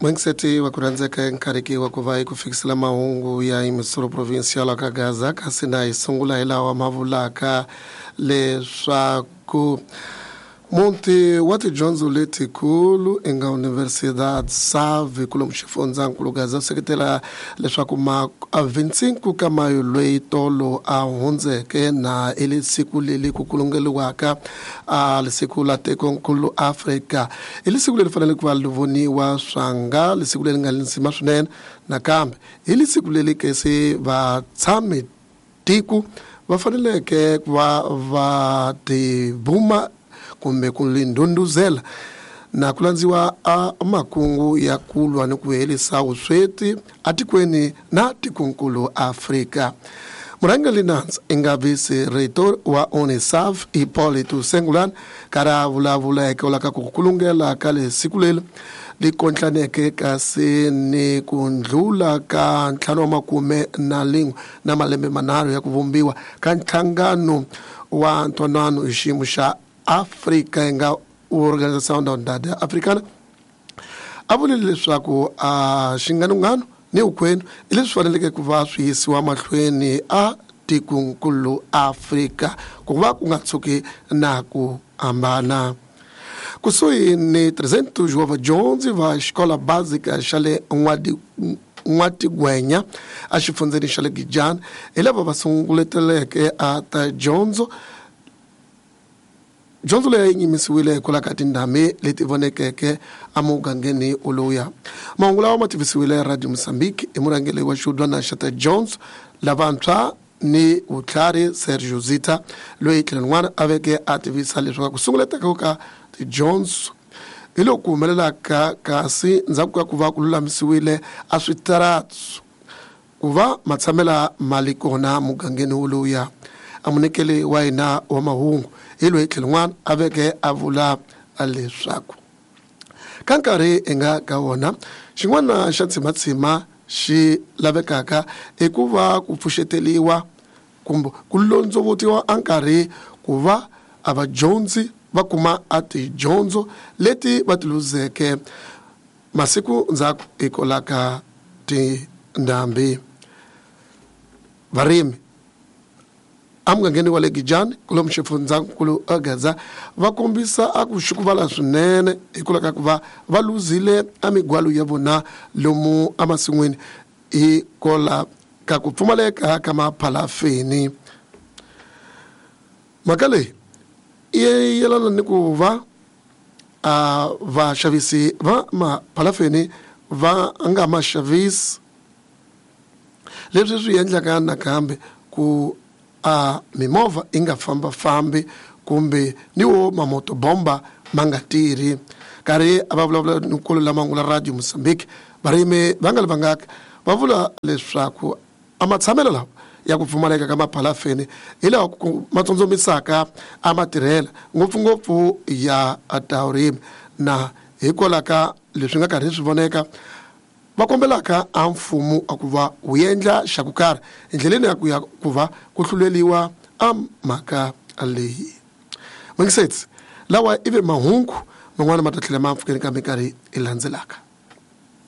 Mwengiseti wa ku rhandzeka nkarhiki wa ku va hi ku fikisela mahungu ya emisuro provincial ka Gaza, kasi na hi sungula hi lawa ma vulaka leswaku muti wa tidyondzo letikulu i nga Universidad Save kulomu xifundzankulu Gaza seketela leswaku ma a 25 ka mayo loyi tolo a hundzeke na i le siku leri ku kulungeliwaka a lisiku la tikonkulu Afrika. I lisiku leri fanele ku va li voniwa swanga lisiku leri nga li nzima swinene, nakambe hi lisiku leri ke se vatshami tiko va faneleke ku va va tibuma kumbe ku li ndhundhuzela na ku landziwa a makungu ya ku lwa ni ku herisa vusweti atikweni na tikonkulu Afrika. Murhangeri Nandza i nga vice-reitor wa UNISAF Hippolyte Sengulane karhi a vulavula hikwalaho ka ku kulungela ka le siku leri li kontlaneke kasi ni ku ndlula ka 51 na malembe manharhu ya ku vumbiwa ka nhlangano wa ntwanano hi xiyimo xa Afrika yi nga Organização da Unidade Africana. A vulile leswaku a xinganungano ni vukwenu i leswi faneleke ku va swi yisiwa mahlweni a tikonkulu Afrika ku va ku nga tshuki na ku hambana. Kusuhi ni 300 wa vadyondzi va xikola basic xa le N'watigwenya exifundzeni xa le Gijana hi lava va sunguleteleke a ta dyondzo. Dyondzo leyi yi nyimisiwile hikwalaho ka tindhambi leti vonekeke emugangeni woluya. Mahungu lawa ma tivisiwile Radio Mozambique hi murhangeri wa xihubyana xa ta dyondzo lavantshwa ni vutlhari Sergio Zita, loyi tlhelo rin'wana a veke a tivisa leswaku ku sunguleteka ka tidyondzo hi loku humelelaka kasi ndzhaku ka ku va ku lulamisiwile a switaratu ku va matshamela mali kona mugangeni woluya. Amunikeli wa hina wa mahungu hi loyi tlhelo rin'wana a veke a vula leswaku ka nkarhi hi nga ka wona xin'wana xa tshimatshima xi lavekaka i ku va ku pfuxeteliwa kumbe ku londzovutiwa a nkarhi ku va a vadyondzi va kuma a tidyondzo leti va ti luzeke masiku ndzhaku hikwalaho ka tindhambi. Varimi emugangeni wa le Gijani kulomu xifundzankulu Gaza va kombisa a ku xukuvala swinene hikwalaho ka ku va va luzile a migwalo ya vona lomu emasin'wini hikwalaho ka ku pfumaleka ka maphalafeni. Mhaka leyi yi yelana ni ku va a vaxavisi va maphalafeni va nga ma xavisi, leswi swi endlaka nakambe ku a mimovha yi nga fambafambi kumbe ni wo mamotobomba ma nga tirhi. Karhi a va vulavula ni nkulu lama ngula Radio Mozambique, varimi va nga li vangaka va vula leswaku a matshamelo lawa ya ku pfumaleka ka maphalafeni hi lawa ku ma tsondzomisaka a matirhela ngopfungopfu ya ta vurimi, na hikwalaho ka leswi nga karhi swi voneka va kombelaka a mfumo a ku va wu endla xa ku karhi endleleni ya ku ya ku va ku hluleliwa a mhaka leyi. N'wingisetsi lawa ivi mahungu man'wana ma ta tlhela ma pfukeni ka minkarhi yi landzelaka.